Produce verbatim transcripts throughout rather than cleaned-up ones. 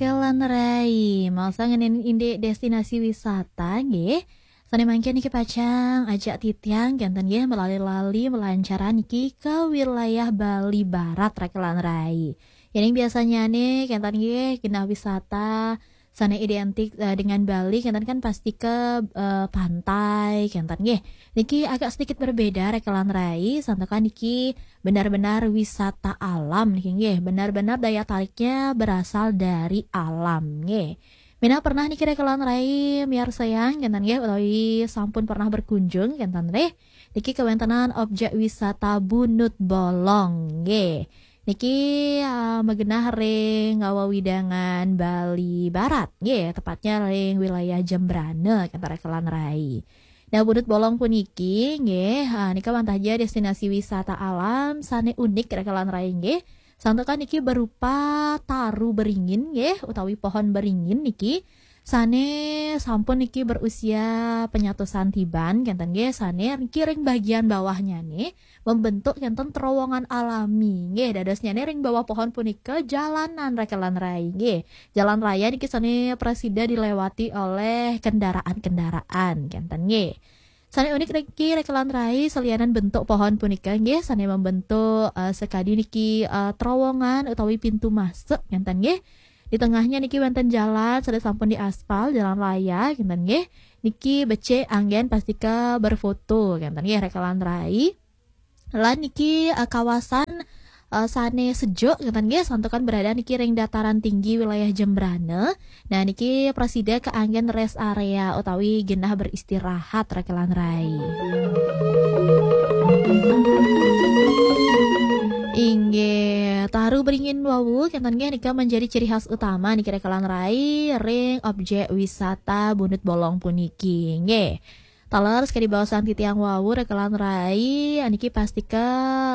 Rekelan Rai, masa ngenin indik destinasi wisata nggih. Sane mangkin niki pacang ajak titiang kenten nggih melali-lali melancaran niki ke wilayah Bali Barat Rekelan Rai. Yening biasanya nih kenten nggih genah wisata sane identik eh, dengan Bali kenten kan pasti ke eh, pantai kenten nggih. Niki agak sedikit berbeda Rekelan Rai, santokan niki benar-benar wisata alam niki nggih, benar-benar daya tariknya berasal dari alam nggih. Mina pernah niki Rekelan Rai miarsayang kenten nggih utawi sampun pernah berkunjung kenten nggih. Niki kewentenan objek wisata Bunut Bolong nggih. Niki uh, megenah ring wewidangan Bali Barat nggih, tepatnya ring wilayah Jembrana kenten Rekelan Rai. Nah, Bunut Bolong puniki nggih, ha, nika wantah ja destinasi wisata alam sane unik Rekelan Rai nggih. Santokan niki berupa taru beringin nggih utawi pohon beringin niki sane sampun niki berusia penyatusan tiban kenten nggih, sane niki ring bagian bawahnya nih membentuk kenten terowongan alami nggih. Dadosnya nih ring bawah pohon punika jalanan Rekelan Rai nggih. Jalan raya niki sane prasida dilewati oleh kendaraan-kendaraan kenten nggih. Sane unik niki Rekelan Rai selianan bentuk pohon punika nggih sane membentuk uh, sekadi niki uh, terowongan utawi pintu masuk kenten nggih. Di tengahnya niki wenten jalan sane sampun diaspal, jalan raya kenten nggih. Niki becik anggen pastika berfoto kenten nggih Rekelan Rai. Lan niki uh, kawasan uh, sane sejuk kenten nggih, santokan berada niki ring dataran tinggi wilayah Jembrana. Nah, niki prasida keanggen rest area utawi genah beristirahat Rekelan Rai. Inggih, taru beringin wau kenten nggih nika menjadi ciri khas utama niki Rekelan Rai ring objek wisata Bunut Bolong puniki nggih. Taler sekadi baosan titiang wau Rekelan Rai niki pastika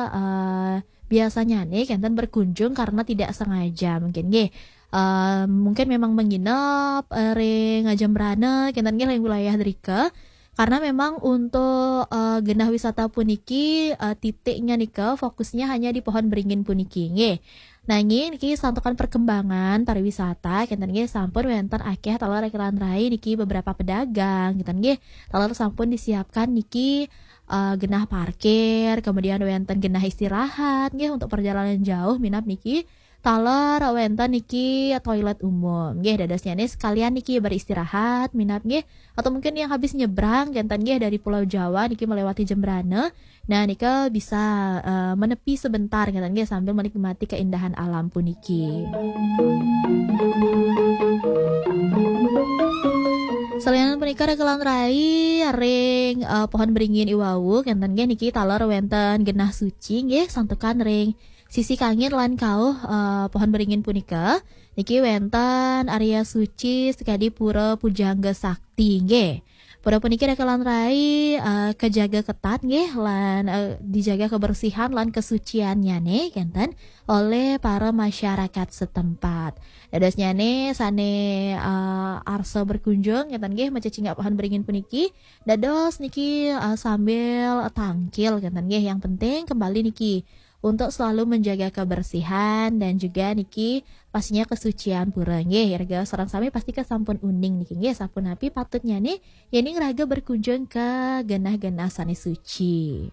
uh, biasanya nih kenten berkunjung karena tidak sengaja mungkin nggih. Uh, mungkin memang menginap uh, ring Jembrana kenten nggih ring wilayah drika. Karena memang untuk uh, genah wisata puniki uh, titiknya nika fokusnya hanya di pohon beringin puniki nggih. Nanging niki santokan perkembangan pariwisata kenten nggih sampun wenten akeh taler Rekelan Rai niki beberapa pedagang kenten nggih. Taler sampun disiapkan niki uh, genah parkir, kemudian wenten genah istirahat nggih untuk perjalanan jauh minab niki taler wenten niki toilet umum nggih. Dadosnya nih sekalian niki beristirahat minab nggih, atau mungkin yang habis nyebrang kenten nggih dari Pulau Jawa niki melewati Jembrana. Nah, nika bisa uh, menepi sebentar kenten nggih sambil menikmati keindahan alam puniki. Salianan punika Rekelan Rai ring uh, pohon beringin iwau kenten nggih niki taler wenten genah suci nggih santokan ring sisi kangin lan kauh uh, pohon beringin punika. Niki wenten area suci sekadi pura pujangga sakti nggih. Pura puniki Rekelan Rai uh, kejaga ketat nggih lan uh, dijaga kebersihan lan kesuciannya nih kenten oleh para masyarakat setempat. Dadosnya nih sane uh, arsa berkunjung kenten nggih macecingak pohon beringin puniki. Dados niki uh, sambil tangkil kenten nggih. Yang penting kembali niki untuk selalu menjaga kebersihan dan juga niki pastinya kesucian pura nggih. Raga sareng sami pasti kesampun uning niki nggih sapunapi patutnya nih yening raga berkunjung ke genah-genah sane suci.